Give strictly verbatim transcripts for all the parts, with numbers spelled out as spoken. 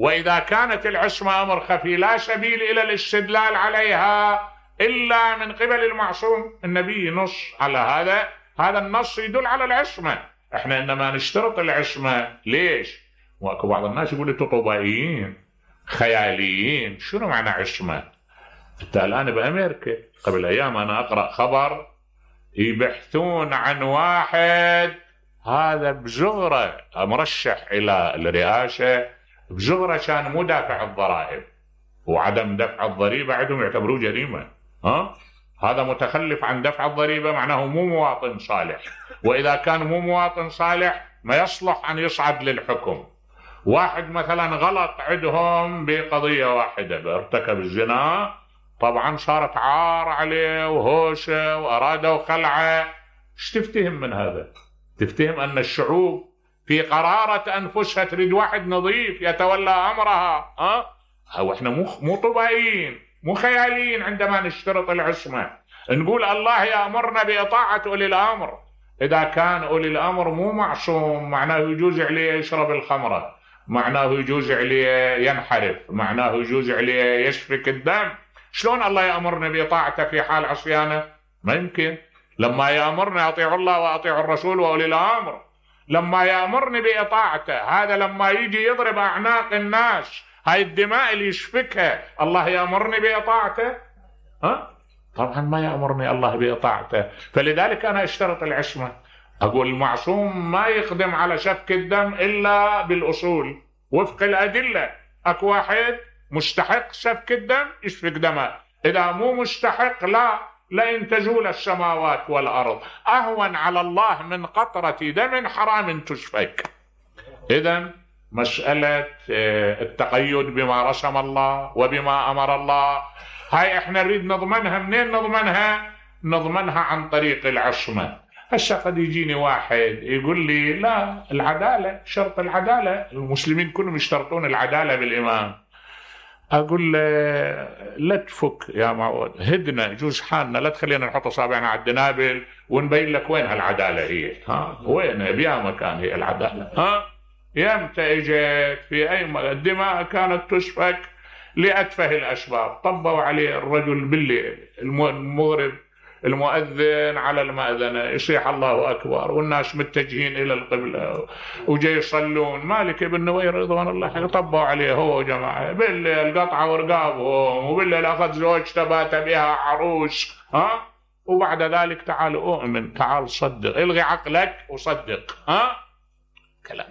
وإذا كانت العصمة أمر خفي لا سبيل إلى الاستدلال عليها إلا من قبل المعصوم. النبي نص على هذا، هذا النص يدل على العصمة. احنا إنما نشترط العصمة ليش؟ واكو بعض الناس يقول انتم طبائيين خياليين. شنو معنى عصمة؟ حتى الآن بأمريكا قبل أيام أنا أقرأ خبر يبحثون عن واحد هذا بزغرة مرشح إلى الرئاسة، بزغرة كان مو دافع الضرائب، وعدم دفع الضريبة عندهم يعتبروه جريمة. ها؟ هذا متخلف عن دفع الضريبة، معناه مو مواطن صالح، وإذا كان مو مواطن صالح ما يصلح أن يصعد للحكم. واحد مثلا غلط عندهم بقضية واحدة، ارتكب الزنا، طبعا صارت عار عليه وهوشة وأرادوا خلعه. ايش تفتهم من هذا؟ تفتهم أن الشعوب في قرارة أنفسها تريد واحد نظيف يتولى أمرها. ها؟ أو احنا مو مو طبيعيين مو خياليين عندما نشترط العصمة. نقول الله يأمرنا بإطاعة أولي الأمر. إذا كان أولي الأمر مو معصوم، معناه يجوز عليه يشرب الخمرة، معناه يجوز عليه ينحرف، معناه يجوز عليه يسفك الدم. شلون الله يأمرنا بإطاعته في حال عصيانه؟ ما يمكن. لما يأمرنا أطيعوا الله وأطيعوا الرسول وأولي الأمر، لما يأمرني بإطاعته، هذا لما يجي يضرب أعناق الناس، هاي الدماء اللي يسفكها، الله يأمرني بإطاعته؟ ها؟ طبعا ما يأمرني الله بإطاعته. فلذلك أنا اشترط العصمة. أقول المعصوم ما يقدم على سفك الدم إلا بالأصول وفق الأدلة. أكو واحد مستحق سفك الدم يسفك دمه، إذا مو مستحق لا، لئن تزول السماوات والأرض أهون على الله من قطرة دم حرام تسفك. إذن مسألة التقيد بما رسم الله وبما أمر الله، هاي احنا نريد نضمنها. منين نضمنها؟ نضمنها عن طريق العصمة. هسه قد يجيني واحد يقول لي لا، العدالة، شرط العدالة، المسلمين كلهم يشترطون العدالة بالإمام. أقول له لا تفك يا معود، هدنا يجوز حالنا، لا تخلينا نحط أصابعنا على الدنابل ونبين لك وين هالعدالة هي. ها؟ وين بيا مكان هي العدالة؟ ها؟ يمتى اجت في أي م... الدماء كانت تسفك لأتفه الأسباب. طبوا عليه الرجل بالليل، المغرب المؤذن على المأذنة يصيح الله أكبر والناس متجهين إلى القبلة وجاي يصلون، مالك بن نوير رضوان الله طبوا عليه هو وجماعة. بالليل قطعوا ورقابهم، وبالليل أخذ زوجته بات بها عروس. ها؟ وبعد ذلك تعال أؤمن، تعال صدق، الغي عقلك وصدق. ها؟ كلام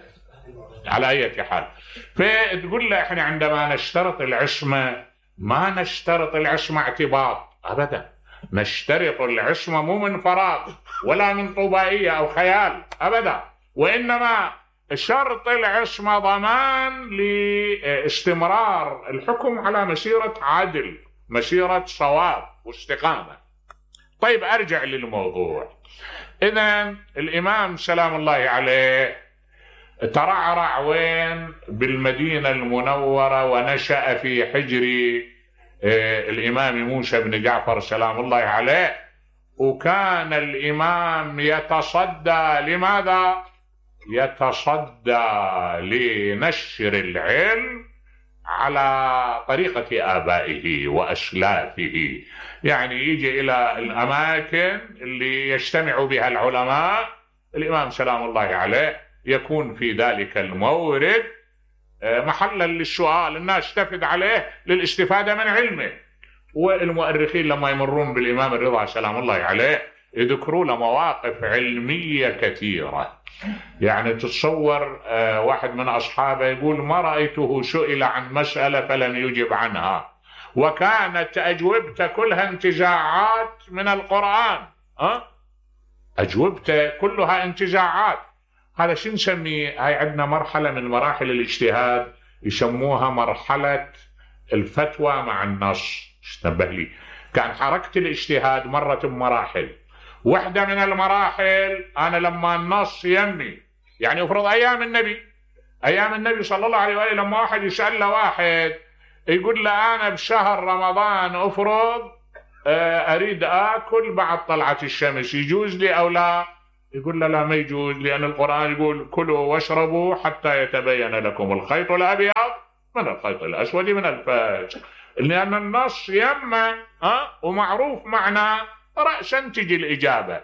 على أي حال. فتقول له احنا عندما نشترط العصمة ما نشترط العصمة اعتباط أبدا، نشترط العصمة مو من فراغ ولا من طبائية أو خيال أبدا، وإنما شرط العصمة ضمان لاستمرار الحكم على مسيرة عدل، مسيرة صواب واستقامة. طيب أرجع للموضوع. إذن الإمام سلام الله عليه ترعرع وين؟ بالمدينة المنورة، ونشأ في حجر الإمام موسى بن جعفر سلام الله عليه. وكان الإمام يتصدى لماذا؟ يتصدى لنشر العلم على طريقة آبائه وأسلافه. يعني يجي إلى الأماكن اللي يجتمع بها العلماء، الإمام سلام الله عليه يكون في ذلك المورد محلا للسؤال، الناس تفد عليه للاستفادة من علمه. والمؤرخين لما يمرون بالإمام الرضا سلام الله عليه يذكروا له مواقف علمية كثيرة. يعني تتصور واحد من أصحابه يقول ما رأيته سئل عن مسألة فلم يجب عنها، وكانت أجوبته كلها انتزاعات من القرآن. أه؟ أجوبته كلها انتزاعات. هذا شو نسميه؟ هاي عندنا مرحلة من مراحل الاجتهاد يسموها مرحلة الفتوى مع النص. اشتبه لي، كان حركة الاجتهاد مرت بمراحل. واحدة من المراحل أنا لما النص يمي، يعني افرض أيام النبي، أيام النبي صلى الله عليه وآله، لما واحد يسأل له واحد يقول له أنا بشهر رمضان أفرض أريد آكل بعد طلعة الشمس، يجوز لي أو لا؟ يقول له لا ما يجوز، لأن القرآن يقول كلوا واشربوا حتى يتبين لكم الخيط الأبيض من الخيط الأسود من الفجر، لأن النص يما أه ومعروف معناه رأسا تجي الإجابة.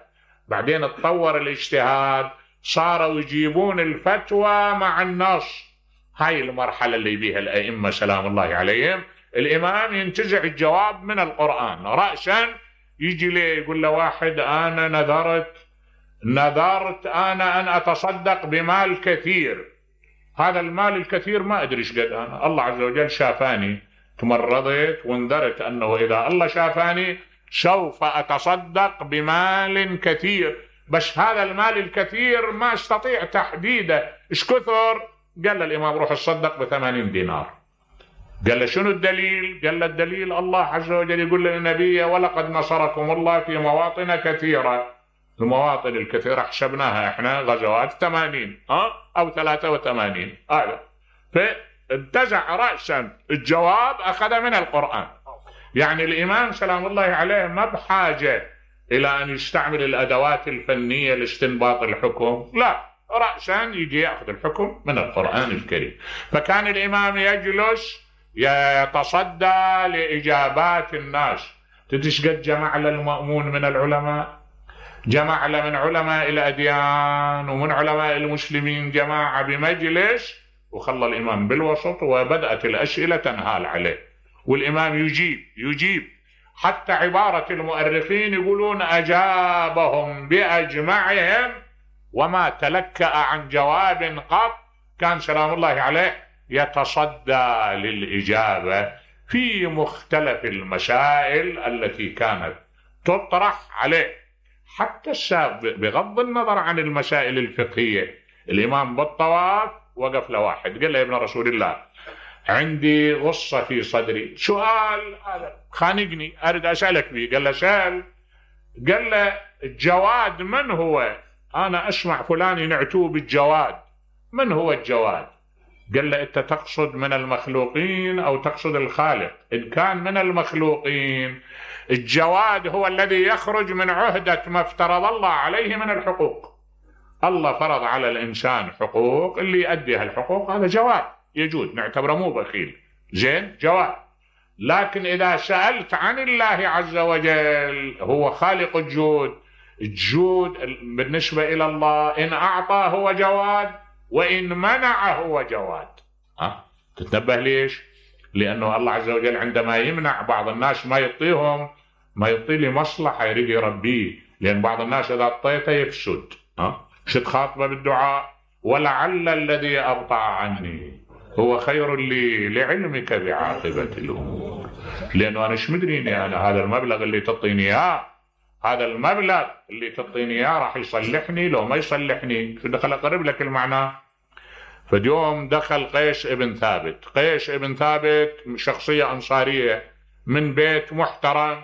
بعدين تطور الاجتهاد، صاروا يجيبون الفتوى مع النص. هاي المرحلة اللي بيها الأئمة سلام الله عليهم. الإمام ينتزع الجواب من القرآن رأسا، يجي لي يقول له واحد أنا نذرت نذرت أنا أن أتصدق بمال كثير، هذا المال الكثير ما أدري ايش قد، أنا الله عز وجل شافاني، تمرضت ونذرت أنه إذا الله شافاني سوف أتصدق بمال كثير، بس هذا المال الكثير ما استطيع تحديده ايش كثر. قال الإمام روح تصدق بثمانين دينار. قال له شنو الدليل؟ قال له الدليل الله عز وجل يقول للنبي ولقد نصركم الله في مواطن كثيرة. المواطن الكثيرة حسبناها احنا غزوات ثمانين ها او ثلاثة وثمانين هذا. فانتزع رأسا الجواب أخذ من القرآن. يعني الإمام سلام الله عليه ما بحاجة إلى أن يستعمل الأدوات الفنية لاستنباط الحكم، لا، رأسا يجي يأخذ الحكم من القرآن الكريم. فكان الإمام يجلس يتصدى لإجابات الناس. تدش قد جمع للمأمون من العلماء، جمع من علماء الأديان ومن علماء المسلمين جماعة بمجلس، وخلى الإمام بالوسط وبدأت الأسئلة تنهال عليه، والإمام يجيب يجيب حتى عبارة المؤرخين يقولون أجابهم بأجمعهم وما تلكأ عن جواب قط. كان سلام الله عليه يتصدى للإجابة في مختلف المسائل التي كانت تطرح عليه، حتى السابق بغض النظر عن المسائل الفقهية. الإمام بالطواف وقف لواحد قال له يا ابن رسول الله عندي غصة في صدري، سؤال هذا خانقني أريد أسألك به. قال له سأل. قال له الجواد من هو؟ أنا أسمع فلان ينعتوه بالجواد، من هو الجواد؟ قال له أنت تقصد من المخلوقين أو تقصد الخالق؟ إن كان من المخلوقين الجواد هو الذي يخرج من عهدة ما افترض الله عليه من الحقوق. الله فرض على الإنسان حقوق، اللي يؤدي هالحقوق هذا جواد يجود، نعتبره مو بخيل، زين جواد. لكن إذا سألت عن الله عز وجل هو خالق الجود، الجود بالنسبة إلى الله إن أعطى هو جواد وإن منع هو جواد. أه؟ تتنبه ليش؟ لأنه الله عز وجل عندما يمنع بعض الناس ما يعطيهم، ما يعطي لي مصلحة يريد يربيه، لأن بعض الناس إذا أعطيته يفسد. أه؟ شد خاطبه بالدعاء ولعل الذي أبطأ عني هو خير لي لعلمك بعاقبة الأمور. لأنه أنا ايش مدريني أنا هذا المبلغ اللي تعطيني إياه، هذا المبلغ اللي تعطيني إياه راح يصلحني لو ما يصلحني. شو دخل أقرب لك المعنى. فاليوم دخل قيس ابن ثابت. قيس ابن ثابت شخصية أنصارية من بيت محترم،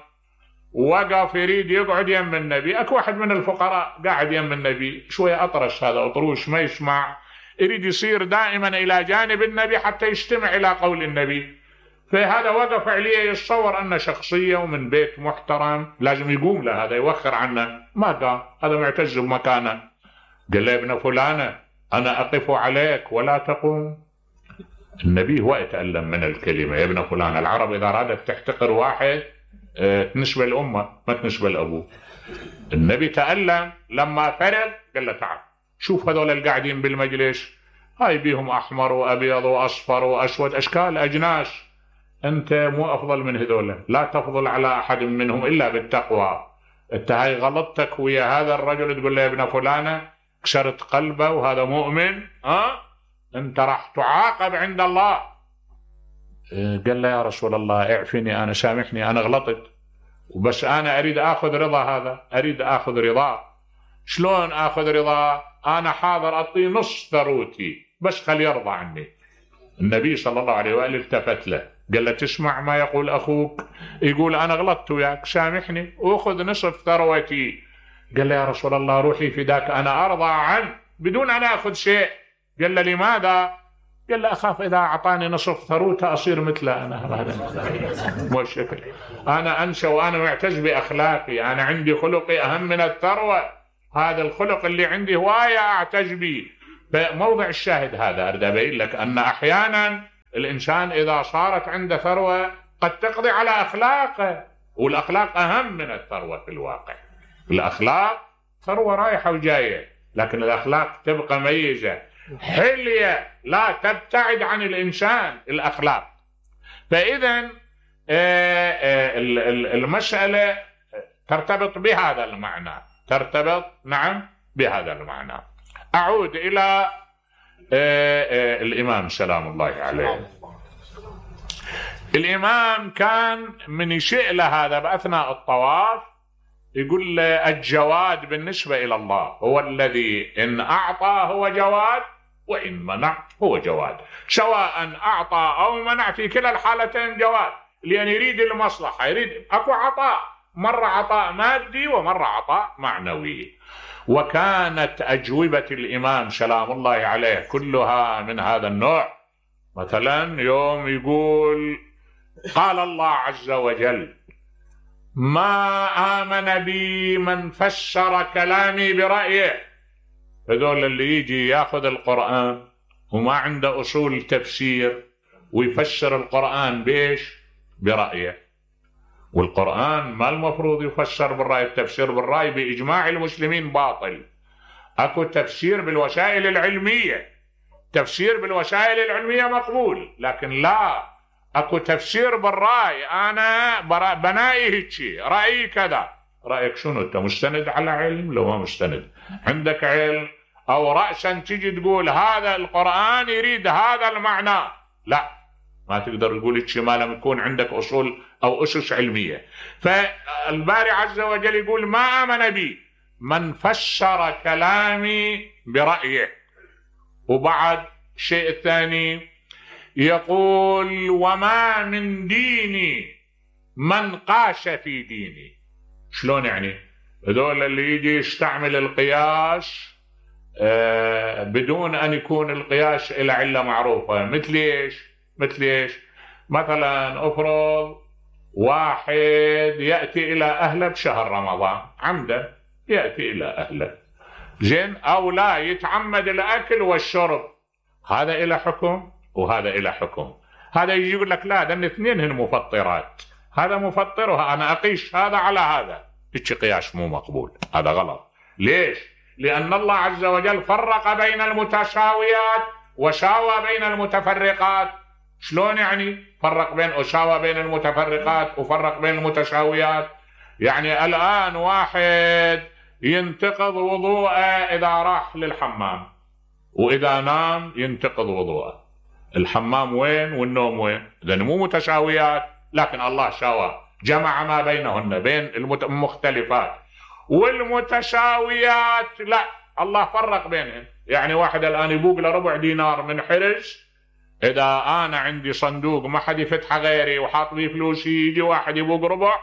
وقف يريد يقعد يم النبي. أكو واحد من الفقراء قاعد يم النبي شوية أطرش، هذا أطروش ما يسمع، يريد يصير دائما إلى جانب النبي حتى يستمع إلى قول النبي. فهذا وقف عليه يتصور أن شخصية ومن بيت محترم لازم يقوم له، هذا يوخر عنه، ما قام، هذا معتز بمكانه. قال له يا ابن فلانة أنا أقف عليك ولا تقوم. النبي هو يتألم من الكلمة يا ابن فلان. العرب إذا أرادت تحتقر واحد تنسبة الأمة ما تنسبة الأبو. النبي تألم لما فرغ قال له تعال شوف هذول القاعدين بالمجلس، هاي بيهم أحمر وأبيض وأصفر وأسود، أشكال أجناس، أنت مو أفضل من هذول، لا تفضل على أحد منهم إلا بالتقوى. أنت هاي غلطتك ويا هذا الرجل تقول له يا ابن فلانة كسرت قلبه وهذا مؤمن، ها أنت راح تعاقب عند الله. قال له يا رسول الله اعفني أنا، سامحني أنا غلطت، وبس أنا أريد أخذ رضا هذا، أريد أخذ رضاه. شلون أخذ رضاه؟ أنا حاضر أعطيه نص ثروتي بس خلي يرضى عني. النبي صلى الله عليه وآله التفت له قال له تسمع ما يقول أخوك، يقول أنا غلطت وياك سامحني وأخذ نصف ثروتي. قال له يا رسول الله روحي فداك أنا أرضى عنه بدون أن أخذ شيء. قال له لماذا؟ قال له أخاف إذا أعطاني نصف ثروته أصير مثله أنا، هذا مو الشكل. أنا أنسى وأنا معتز بأخلاقي، أنا عندي خلقي أهم من الثروة، هذا الخلق اللي عندي هواية أعتز به. فموضع الشاهد هذا أريد أبين لك أن أحيانا الإنسان إذا صارت عنده ثروة قد تقضي على أخلاقه، والأخلاق أهم من الثروة في الواقع. الأخلاق ثروة رايحة وجاية، لكن الأخلاق تبقى ميزة، حلية لا تبتعد عن الإنسان الأخلاق. فإذا المسألة ترتبط بهذا المعنى، ترتبط نعم بهذا المعنى. أعود إلى الإمام سلام الله عليه. الإمام كان من يشئ له هذا بأثناء الطواف يقول له الجواد بالنسبة إلى الله هو الذي إن أعطى هو جواد وإن منع هو جواد، سواء أعطى أو منع في كلا الحالتين جواد، لأن يريد المصلحة، يريد أكو عطاء، مرة عطاء مادي ومرة عطاء معنوي. وكانت أجوبة الإمام سلام الله عليه كلها من هذا النوع. مثلا يوم يقول قال الله عز وجل ما آمن بي من فسر كلامي برأيه. هذول اللي يجي ياخذ القرآن وما عنده أصول تفسير ويفسر القرآن بيش؟ برأيه. والقرآن ما المفروض يفسر بالرأي، التفسير بالرأي بإجماع المسلمين باطل. أكو تفسير بالوسائل العلمية، تفسير بالوسائل العلمية مقبول، لكن لا أكو تفسير بالرأي. أنا بنائي هيك رأيي كذا. رأيك شنو؟ أنت مستند على علم؟ لو ما مستند عندك علم أو رأسا تجي تقول هذا القرآن يريد هذا المعنى، لا ما تقدر تقول هيك ما لم يكون عندك أصول أو أسس علمية. فالباري عز وجل يقول ما آمن بي من فسر كلامي برأيه. وبعد شيء ثاني يقول وما من ديني من قاش في ديني. شلون يعني؟ هذول اللي يجي يستعمل القياس آه بدون أن يكون القياس إلى علة معروفة. مثل إيش؟ مثل إيش؟ مثلا أفرض واحد يأتي إلى أهله بشهر رمضان عمدا، يأتي إلى أهله زين، أو لا يتعمد الأكل والشرب، هذا إلى حكم وهذا إلى حكم. هذا يجي يقول لك لا ده الاثنين هن مفطرات، هذا مفطر وأنا أقيس هذا على هذا، هيك قياس مو مقبول، هذا غلط. ليش؟ لأن الله عز وجل فرق بين المتساويات وساوى بين المتفرقات. شلون يعني فرق بين وساوى بين المتفرقات وفرق بين المتساويات؟ يعني الآن واحد ينتقض وضوءه إذا راح للحمام، وإذا نام ينتقض وضوءه. الحمام وين والنوم وين؟ إذن مو متساويات، لكن الله ساوى جمع ما بينهن بين المختلفات. والمتساويات لا، الله فرق بينهن. يعني واحد الآن يبوق له ربع دينار من حرز، إذا أنا عندي صندوق ما حد يفتحه غيري وحاط لي فلوسي، يجي واحد يبوق ربع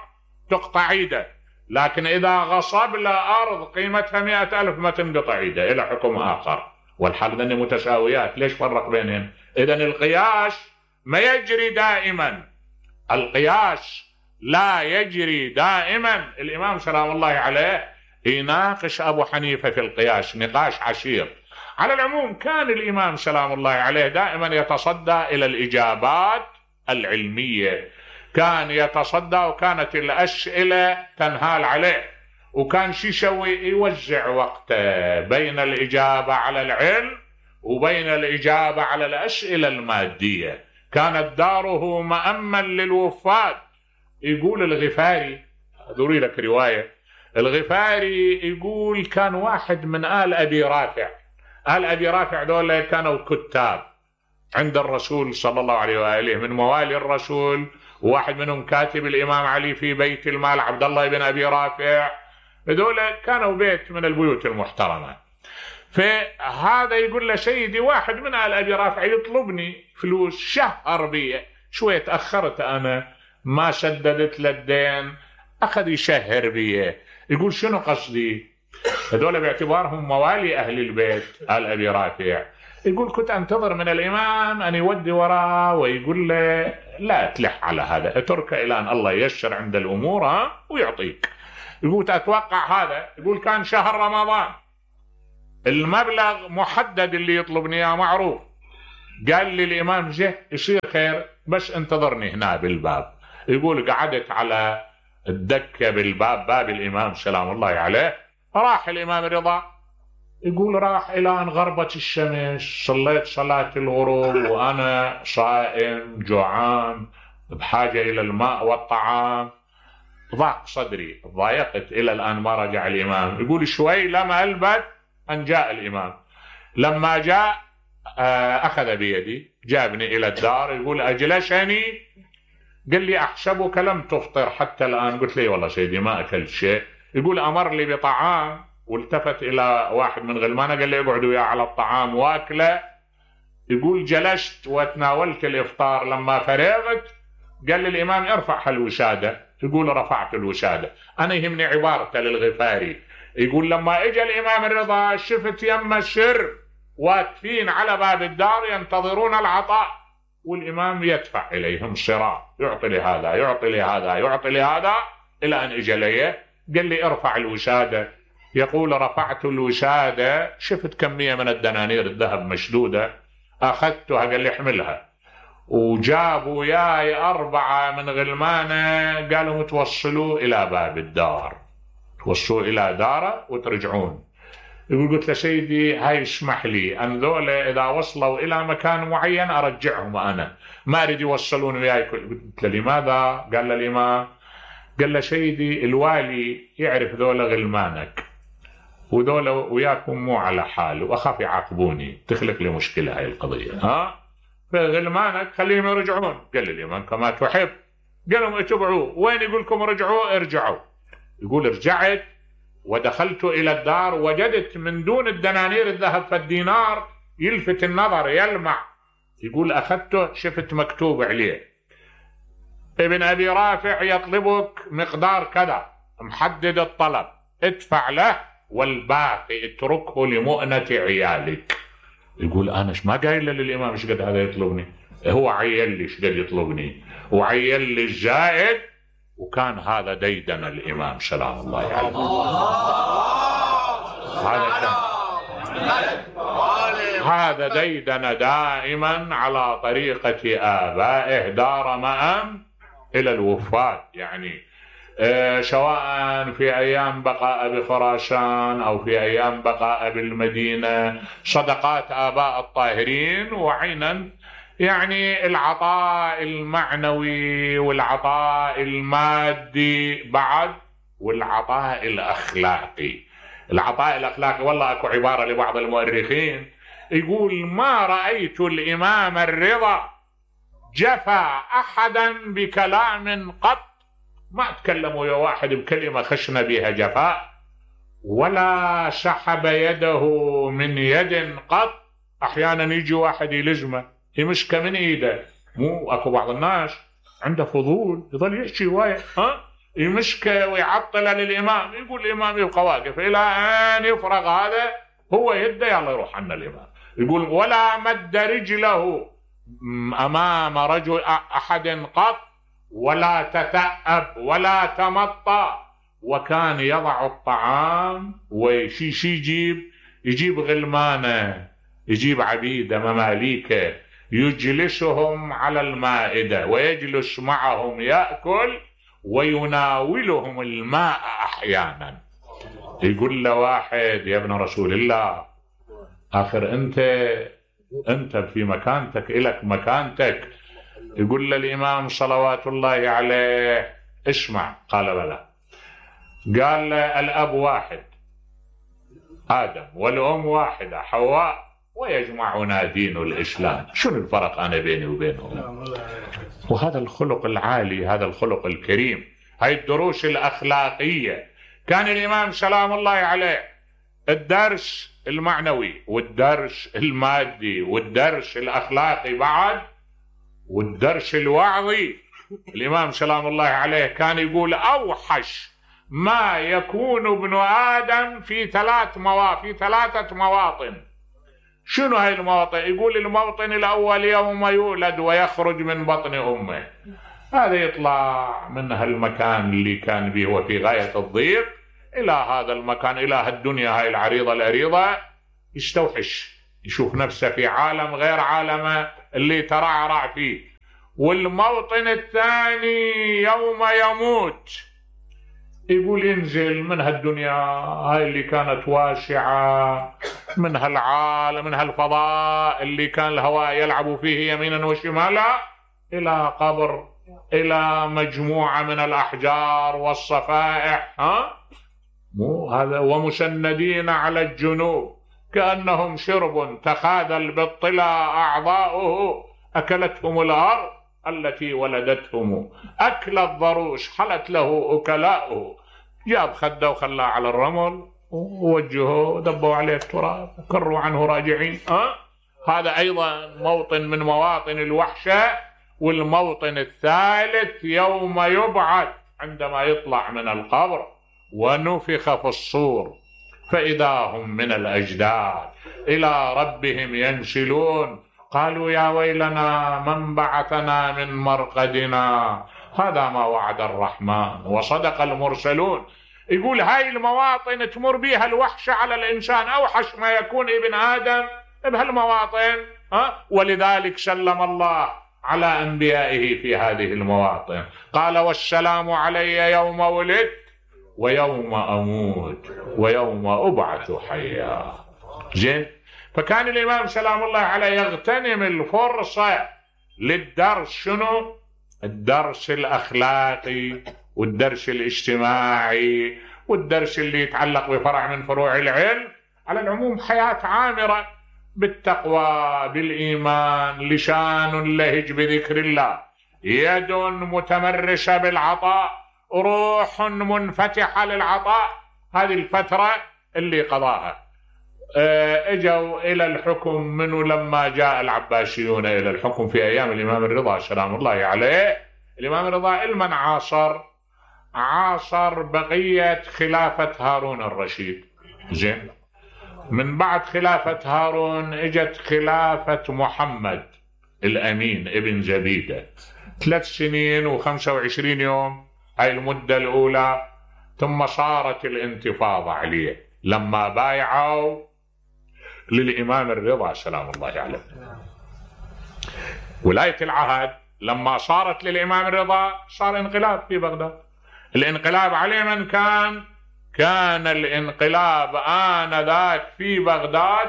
تقطع ايده. لكن إذا غصب له أرض قيمتها مئة ألف ما تنقطع ايده، إلى حكم آخر. والحال ذني متساويات، ليش فرق بينهم؟ إذن القياس ما يجري دائما، القياس لا يجري دائما. الإمام سلام الله عليه يناقش أبو حنيفة في القياس نقاش عشير. على العموم كان الإمام سلام الله عليه دائما يتصدى إلى الإجابات العلمية، كان يتصدى، وكانت الأسئلة تنهال عليه، وكان شي يسوي يوزع وقته بين الإجابة على العلم وبين الإجابة على الأسئلة المادية. كانت داره مأمن للوفاد. يقول الغفاري، ذوري لك رواية، الغفاري يقول كان واحد من آل أبي رافع، آل أبي رافع دول كانوا كتاب عند الرسول صلى الله عليه وآله، من موالي الرسول، وواحد منهم كاتب الإمام علي في بيت المال عبد الله بن أبي رافع. هذول كانوا بيت من البيوت المحترمة. فهذا يقول له سيدي واحد من آل أبي رافع يطلبني فلوس، شهر بي، شوية تأخرت أنا ما سددت للدين، أخذ يشهر بي. يقول شنو قصدي؟ هذول باعتبارهم موالي أهل البيت آل أبي رافع. يقول كنت أنتظر من الإمام أن يودي وراه ويقول له لا تلح على هذا، اترك إلى أن الله ييسر عند الأمور ها ويعطيك. يقول أتوقع هذا. يقول كان شهر رمضان، المبلغ محدد اللي يطلبني إياه معروف، قال لي الإمام جه يصير خير بس انتظرني هنا بالباب. يقول قعدت على الدكة بالباب، باب الإمام سلام الله عليه. راح الإمام رضا، يقول راح إلى أن غربت الشمس، صليت صلاة الغروب وأنا صائم جوعان بحاجة إلى الماء والطعام، ضاق صدري، ضايقت إلى الآن ما رجع الإمام. يقول شوي لما ألبث أن جاء الإمام. لما جاء أخذ بيدي جابني إلى الدار. يقول أجلسني، قال لي أحسبك لم تفطر حتى الآن. قلت لي والله سيدي ما أكلت شيء. يقول أمر لي بطعام، والتفت إلى واحد من غلمانه قال لي اقعدوا وياه على الطعام واكله. يقول جلست وتناولت الإفطار. لما فرغت قال لي الإمام ارفع الوسادة. يقول رفعت الوسادة. أنا يهمني عبارته للغفاري. يقول لما اجى الإمام الرضا شفت يم السر واقفين على باب الدار ينتظرون العطاء، والإمام يدفع إليهم صراع، يعطي لهذا يعطي لهذا يعطي لهذا إلى أن اجى لي قال لي ارفع الوسادة. يقول رفعت الوسادة، شفت كمية من الدنانير الذهب مشدودة، أخذتها قال لي احملها. وجابوا ياي أربعة من غلمانة قالوا توصلوا إلى باب الدار، توصلوا إلى داره وترجعون. يقول قلت له سيدي هاي اسمح لي أن ذولا إذا وصلوا إلى مكان معين أرجعهم أنا، ما أريد يوصلون وياي. قلت له لماذا؟ قال له الإمام، قال له سيدي الوالي يعرف ذولا غلمانك وذولا وياكم مو على حال وأخاف يعاقبوني، تخلق لي مشكلة هاي القضية، ها فغلمانك خليهم يرجعون. قال لي الإمام كما تحب. قالوا اتبعوه. وين يقولكم رجعوا؟ ارجعوا. يقول رجعت ودخلت إلى الدار، وجدت من دون الدنانير الذهب فالدينار يلفت النظر يلمع. يقول أخذته شفت مكتوب عليه ابن أبي رافع يطلبك مقدار كذا، محدد الطلب، ادفع له والباقي اتركه لمؤنة عيالك. يقول أنا ايش ما قايل للإمام ايش قد هذا يطلبني، هو عيل لي ايش قد يطلبني وعيل لي الزائد. وكان هذا ديدن الإمام سلام الله عليه. هذا هذا ديدن دائما على طريقة آبائه، دار مأم إلى الوفاة. يعني آه سواء في أيام بقاء بخراسان أو في أيام بقاء بالمدينة، صدقات آباء الطاهرين، وعينا يعني العطاء المعنوي والعطاء المادي بعد، والعطاء الأخلاقي. العطاء الأخلاقي والله أكو عبارة لبعض المؤرخين يقول ما رأيت الإمام الرضا جفى أحدا بكلام قط، ما تكلموا يا واحد بكلمة خشنا بها جفاء، ولا سحب يده من يد قط. أحيانا يجي واحد يلزمه يمسك من ايده، مو اكو بعض الناس عنده فضول يظل يحكي وايد، ها يمسكه ويعطله للامام، يقول الامام يبقى واقف الى ان يفرغ هذا، هو يده يلا يروح عنا الامام. يقول ولا مد رجله امام رجل احد قط، ولا تثأب ولا تمطى، وكان يضع الطعام وشي يجيب يجيب غلمانه، يجيب عبيده مماليكه، يجلسهم على المائدة ويجلس معهم يأكل ويناولهم الماء أحيانا. يقول له واحد يا ابن رسول الله آخر أنت أنت في مكانتك إلك مكانتك. يقول له الإمام صلوات الله عليه اسمع. قال بلى. قال له الأب واحد آدم والأم واحدة حواء ويجمعنا دين الإسلام، شنو الفرق أنا بيني وبينهم؟ وهذا الخلق العالي، هذا الخلق الكريم، هاي الدروس الأخلاقية. كان الإمام سلام الله عليه الدرس المعنوي والدرس المادي والدرس الأخلاقي بعد والدرس الوعظي. الإمام سلام الله عليه كان يقول أوحش ما يكون ابن آدم في ثلاث مواطن في ثلاثة مواطن. شنو هاي المواطن؟ يقول الموطن الأول يوم يولد ويخرج من بطن أمه، هذا يطلع من هالمكان اللي كان به وفي غاية الضيق إلى هذا المكان، إلى هالدنيا هاي العريضة العريضة، يستوحش يشوف نفسه في عالم غير عالمه اللي ترعرع فيه. والموطن الثاني يوم يموت يقول ينزل من هالدنيا هاي اللي كانت واسعة، من هالعالم من هالفضاء اللي كان الهواء يلعب فيه يمينا وشمالا، إلى قبر، إلى مجموعة من الأحجار والصفائح، ها مو هذا، ومسندين على الجنوب كأنهم شرب تخاذل بالطلا أعضاؤه، أكلتهم الأرض التي ولدتهم، أكل الضروس حلت له أكلاؤه. جاب خده وخلاه على الرمل ووجهه دبوا عليه التراب كروا عنه راجعين. أه؟ هذا أيضا موطن من مواطن الوحشة. والموطن الثالث يوم يبعث عندما يطلع من القبر ونفخ في الصور فإذا هم من الأجداث إلى ربهم ينسلون، قالوا يا ويلنا من بعثنا من مرقدنا، هذا ما وعد الرحمن وصدق المرسلون. يقول هاي المواطن تمر بها الوحشة على الإنسان، أوحش ما يكون ابن آدم بهالمواطن. ها؟ ولذلك سلم الله على أنبيائه في هذه المواطن، قال والسلام علي يوم ولدت ويوم أموت ويوم أبعث حيا. زين، فكان الإمام سلام الله عليه يغتنم الفرصة للدرس. شنو؟ الدرس الأخلاقي والدرس الاجتماعي والدرس اللي يتعلق بفرع من فروع العلم. على العموم حياة عامرة بالتقوى بالإيمان، لسان لهج بذكر الله، يد متمرسة بالعطاء، روح منفتحة للعطاء. هذه الفترة اللي قضاها. اجوا الى الحكم منه لما جاء العباسيون الى الحكم في ايام الامام الرضا سلام الله عليه. الامام الرضا المن عاصر عاصر بقية خلافة هارون الرشيد. زين، من بعد خلافة هارون اجت خلافة محمد الامين ابن زبيدة، ثلاث سنين وخمسة وعشرين يوم هاي المدة الاولى. ثم صارت الانتفاضة عليه لما بايعوا للإمام الرضا سلام الله عليه. ولاية العهد لما صارت للإمام الرضا صار انقلاب في بغداد. الانقلاب عليه من كان؟ كان الانقلاب آنذاك في بغداد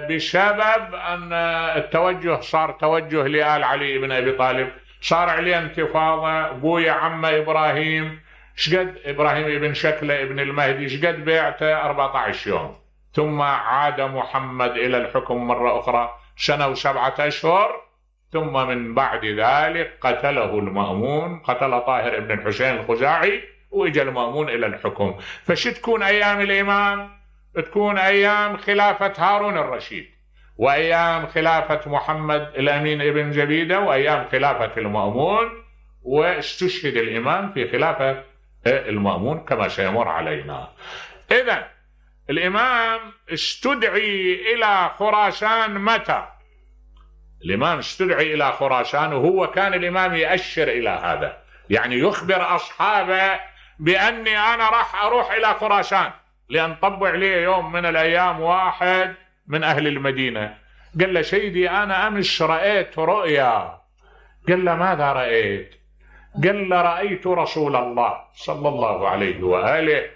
بسبب أن التوجه صار توجه لآل علي بن أبي طالب، صار عليه انتفاضة. بويا عم إبراهيم شقد إبراهيم ابن شكلة ابن المهدي شقد بيعته أربعة عشر يوم. ثم عاد محمد إلى الحكم مرة أخرى سنة وسبعة أشهر. ثم من بعد ذلك قتله المأمون، قتل طاهر ابن الحسين الخزاعي، وإجا المأمون إلى الحكم. فش تكون أيام الإمام؟ تكون أيام خلافة هارون الرشيد، وأيام خلافة محمد الأمين ابن زبيدة، وأيام خلافة المأمون. واستشهد الإمام في خلافة المأمون كما سيمر علينا. إذن الإمام استدعي إلى خراسان متى؟ الإمام استدعي إلى خراسان وهو كان الإمام يأشر إلى هذا، يعني يخبر أصحابه بأني أنا راح أروح إلى خراسان، لأن طبع لي يوم من الأيام واحد من أهل المدينة قال له سيدي أنا أمس رأيت رؤيا. قال له ماذا رأيت؟ قال له رأيت رسول الله صلى الله عليه وآله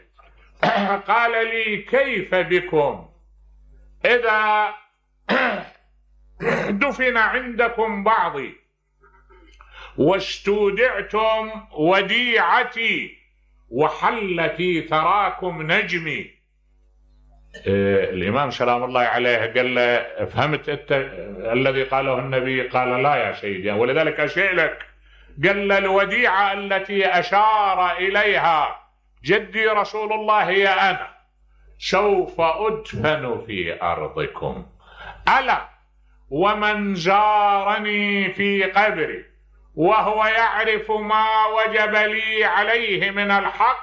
قال لي كيف بكم إذا دفن عندكم بعضي واستودعتم وديعتي وحل في ثراكم نجمي. إيه الإمام سلام الله عليه قال له فهمت أنت الذي قاله النبي؟ قال لا يا سيدي، ولذلك أشيء لك. قال له الوديعة التي أشار إليها جدي رسول الله هي أنا، سوف أدفن في أرضكم، ألا ومن زارني في قبري وهو يعرف ما وجب لي عليه من الحق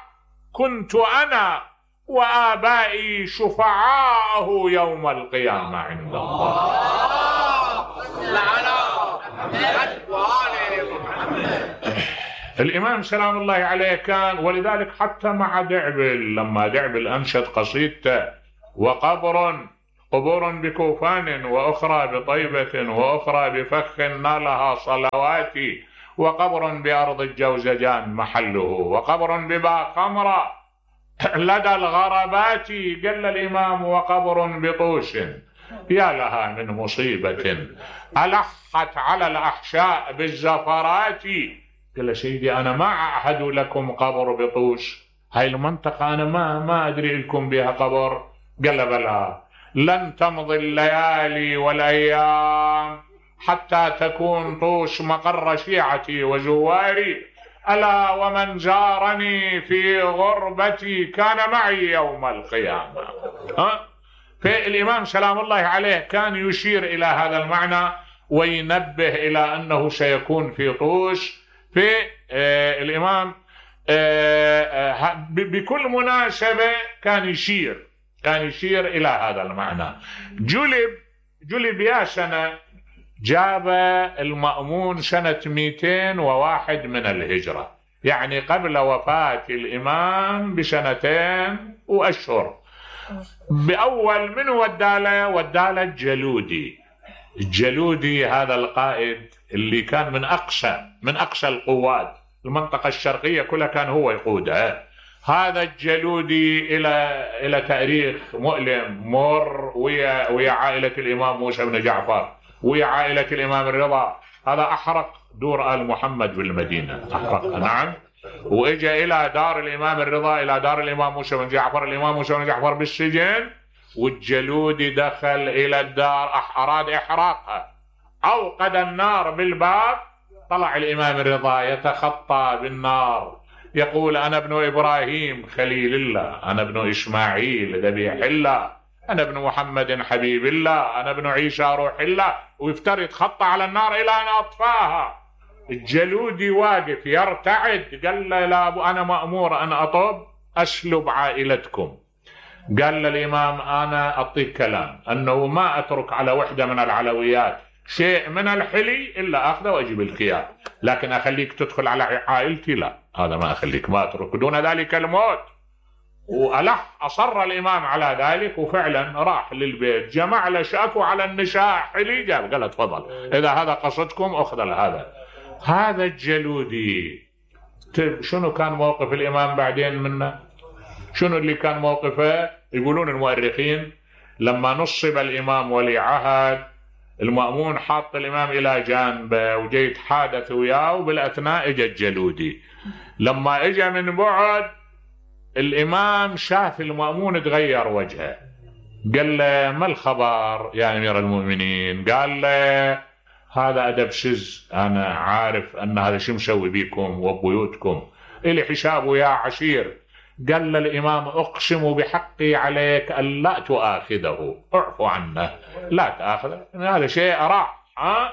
كنت أنا وآبائي شفعاءه يوم القيامة عند الله. الإمام سلام الله عليه كان، ولذلك حتى مع دعبل لما دعبل أنشد قصيدته وقبر قبور بكوفان وأخرى بطيبة وأخرى بفخ نالها صلواتي، وقبر بأرض الجوزجان محله، وقبر ببا خمرة لدى الغربات. قال الإمام وقبر بطوش يا لها من مصيبة ألحت على الأحشاء بالزفرات. قال سيدي أنا ما أعهد لكم قبر بطوش، هاي المنطقة أنا ما ما أدري لكم بها قبر. قال بلى لن تمضي الليالي والأيام حتى تكون طوش مقر شيعتي وزواري، ألا ومن زارني في غربتي كان معي يوم القيامة. ها؟ فالإمام سلام الله عليه كان يشير إلى هذا المعنى وينبه إلى أنه سيكون في طوش. في آه الإمام آه آه بكل مناسبة كان يشير كان يشير إلى هذا المعنى. جلب جلب يا سنة جاب المأمون سنة مئتين وواحد من الهجرة، يعني قبل وفاة الإمام بسنتين وأشهر. بأول من وداله وداله الجلودي. الجلودي هذا القائد اللي كان من أقصى من أقصى القوات، المنطقة الشرقية كلها كان هو يقودها. هذا الجلودي إلى إلى تاريخ مؤلم مر ويا ويا عائلة الإمام موسى بن جعفر ويا عائلة الإمام الرضا. هذا أحرق دور آل محمد بالمدينة، أحرق نعم، وإجا إلى دار الإمام الرضا، إلى دار الإمام موسى بن جعفر. الإمام موسى بن جعفر بالسجن، والجلودي دخل إلى الدار أراد إحراقها، أوقد النار بالباب. طلع الإمام الرضا يتخطى بالنار يقول أنا ابن إبراهيم خليل الله، أنا ابن إسماعيل ذبيح الله، أنا ابن محمد حبيب الله، أنا ابن عيسى روح الله، ويفترض يتخطى على النار إلى أن أطفاها. الجلودي واقف يرتعد، قال له لا أنا مأمور أن أطب أسلب عائلتكم. قال للإمام أنا أعطيك كلام أنه ما أترك على وحدة من العلويات شيء من الحلي إلا أخذه وأجيب الكيان، لكن أخليك تدخل على عائلتي لا، هذا ما أخليك، ما أترك دون ذلك الموت. وألح أصر الإمام على ذلك، وفعلا راح للبيت جمع له شاكو على النساء حلي، جاب قال تفضل إذا هذا قصدكم أخذ هذا. هذا الجلودي شنو كان موقف الإمام بعدين منه؟ شنو اللي كان موقفه؟ يقولون المؤرخين لما نصب الإمام ولي عهد، المأمون حاط الإمام إلى جانبه وجاي يتحادث وياه، وبالأثناء اجى الجلودي. لما اجى من بعد الإمام شاف المأمون تغير وجهه، قال له ما الخبر يا أمير المؤمنين؟ قال له هذا أدب سز، أنا عارف أن هذا شو مسوي بيكم وبيوتكم، إلي حسابه يا عشير. قال للإمام أقسم بحقي عليك أن لا تؤاخذه، اعفو عنه لا تأخذه، هذا شيء راح. ها؟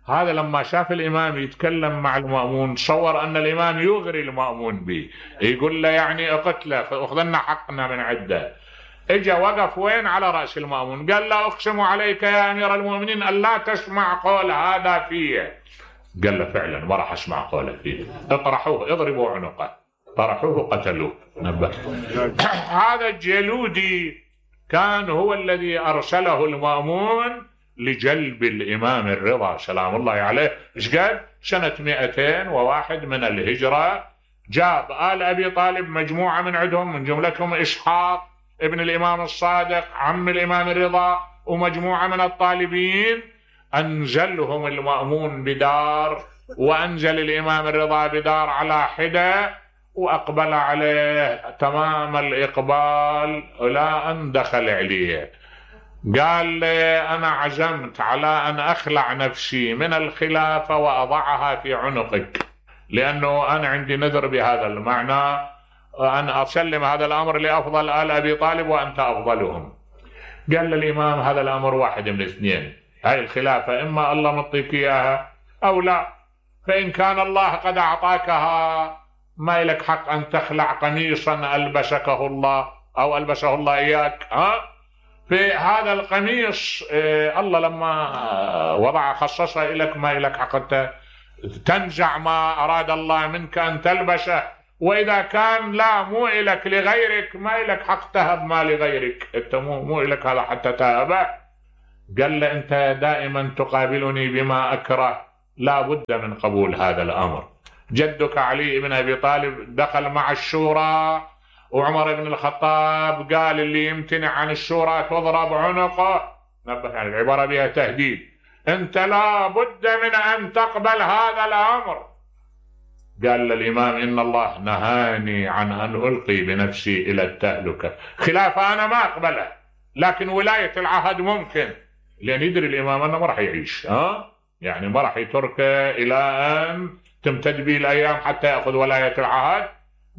هذا لما شاف الإمام يتكلم مع المأمون تصور أن الإمام يغري المأمون به، يقول له يعني اقتله أخذنا حقنا من عده. اجا وقف وين؟ على رأس المأمون، قال له أقسم عليك يا أمير المؤمنين أن لا تسمع قول هذا فيه. قال له فعلا ما راح أسمع قوله فيه، اطرحوه اضربوا عنقه، طرحوه قتلوه. نبه. هذا الجلودي كان هو الذي أرسله المأمون لجلب الإمام الرضا سلام الله عليه. إيش قال؟ سنة مئتين وواحد من الهجرة. جاب آل أبي طالب مجموعة من عندهم، من جملتهم إسحاق ابن الإمام الصادق عم الإمام الرضا، ومجموعة من الطالبين. أنزلهم المأمون بدار، وأنزل الإمام الرضا بدار على حدة، وأقبل عليه تمام الإقبال إلى أن دخل عليه. قال لي أنا عزمت على أن أخلع نفسي من الخلافة وأضعها في عنقك، لأنه أنا عندي نذر بهذا المعنى أن أسلم هذا الأمر لأفضل آل أبي طالب وأنت أفضلهم. قال للإمام هذا الأمر واحد من الاثنين، هاي الخلافة إما الله مطيك إياها أو لا، فإن كان الله قد أعطاكها ما لك حق أن تخلع قميصا ألبسكه الله أو ألبسه الله إياك. ها؟ في هذا القميص إيه الله لما وضع خصصه لك ما لك حق أنت تنزع ما أراد الله منك أن تلبسه، وإذا كان لا مو إلك لغيرك ما إلك حق تهب ما لغيرك، أنت مو, مو إلك هذا حتى تهبه. قال له أنت دائما تقابلني بما أكره، لا بد من قبول هذا الأمر. جدك علي بن أبي طالب دخل مع الشورى، وعمر بن الخطاب قال اللي يمتنع عن الشورى تضرب عنقه، نبه يعني العبارة بها تهديد، أنت لا بد من أن تقبل هذا الأمر. قال للإمام إن الله نهاني عن أن ألقي بنفسي إلى التهلكة، خلافة أنا ما أقبله، لكن ولاية العهد ممكن، لأن يدري الإمام أنه ما راح يعيش، ها يعني ما راح يتركه إلى أن تمتد به الأيام حتى يأخذ ولاية العهد.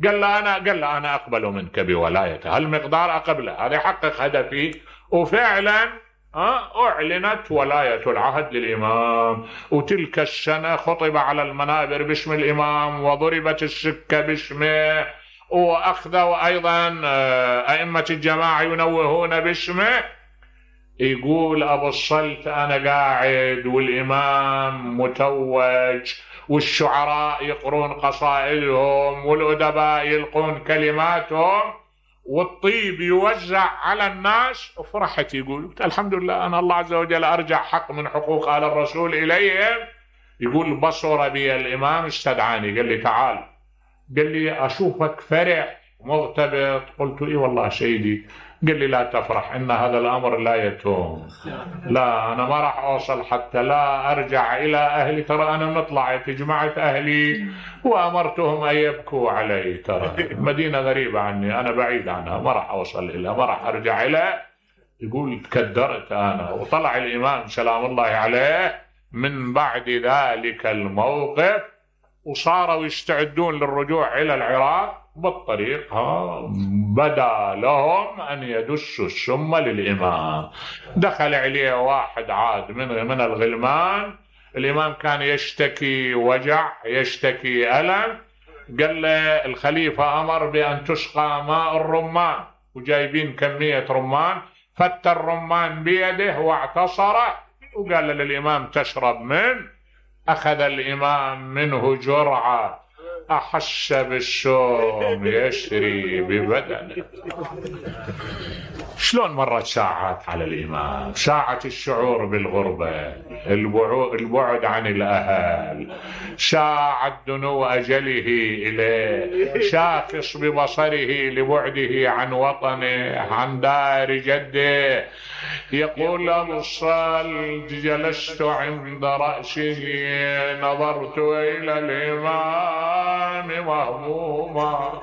قال له أنا قال له أنا أقبل منك بولايته، هالمقدار أقبله، هذا يحقق هدفي. وفعلا أعلنت ولاية العهد للإمام، وتلك السنة خطب على المنابر باسم الإمام، وضربت السكة باسمه، وأخذوا أيضا أئمة الجماعة ينوهون باسمه. يقول أبو الصلت أنا قاعد والإمام متوج، والشعراء يقرون قصائدهم، والأدباء يلقون كلماتهم، والطيب يوزع على الناس، وفرحت. يقول الحمد لله أنا الله عز وجل أرجع حق من حقوق آل الرسول إليهم. يقول بصر بي الإمام استدعاني، قال لي تعال، قال لي أشوفك فرح مغتبط. قلت إيه والله سيدي. قال لي لا تفرح، إن هذا الأمر لا يتوم، لا أنا ما راح أوصل حتى لا أرجع إلى أهلي. ترى أنا طلعت جمعت أهلي وأمرتهم أن يبكوا علي، ترى مدينة غريبة عني، أنا بعيد عنها، ما راح أوصل إليها، ما راح أرجع إليها. يقول تكدرت أنا. وطلع الإمام سلام الله عليه من بعد ذلك الموقف، وصاروا يستعدون للرجوع إلى العراق. بالطريق ها بدا لهم أن يدسوا السم للإمام. دخل عليه واحد عاد من من الغلمان، الإمام كان يشتكي وجع، يشتكي ألم. قال له الخليفة أمر بأن تسقى ماء الرمان، وجايبين كمية رمان، فت الرمان بيده واعتصره، وقال للإمام تشرب من. أخذ الإمام منه جرعة، أحس بالشوم يسري ببدنه. شلون مرت ساعات على الإمام، ساعة الشعور بالغربة، البعد عن الأهل، ساعة دنو أجله إليه، شاخص ببصره لبعده عن وطنه، عن دار جده. يقول أبو الصلت جلست عند رأسه نظرت إلى الإمام مهموما.